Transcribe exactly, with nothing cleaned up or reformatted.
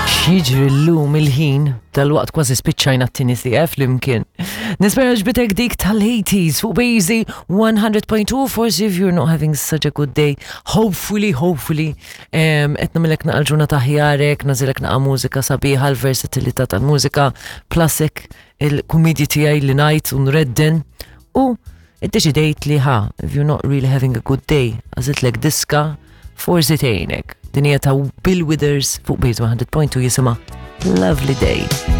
X'jiġri llum il-ħin dal-waqt kważi spiċċajna t-tieni siegħa flimkien. Nispera għoġbitek dik tal-eighties fuq Bazy one hundred point two. Forsi if you're not having such a good day, hopefully, hopefully, qed nagħmillek naqa l-ġurnata aħjar, nagħżillek naqa mużika sabiħa, l-versatilità tal-mużika, plus hekk il-kumedji tiegħi li ngħid u nredden u iddeċidejt li ha, if you're not really having a good day, għażiltlek diska forsi tgħinek. Din hija ta' Bill Withers fuq Bazy one hundred point two, jisimha Lovely Day.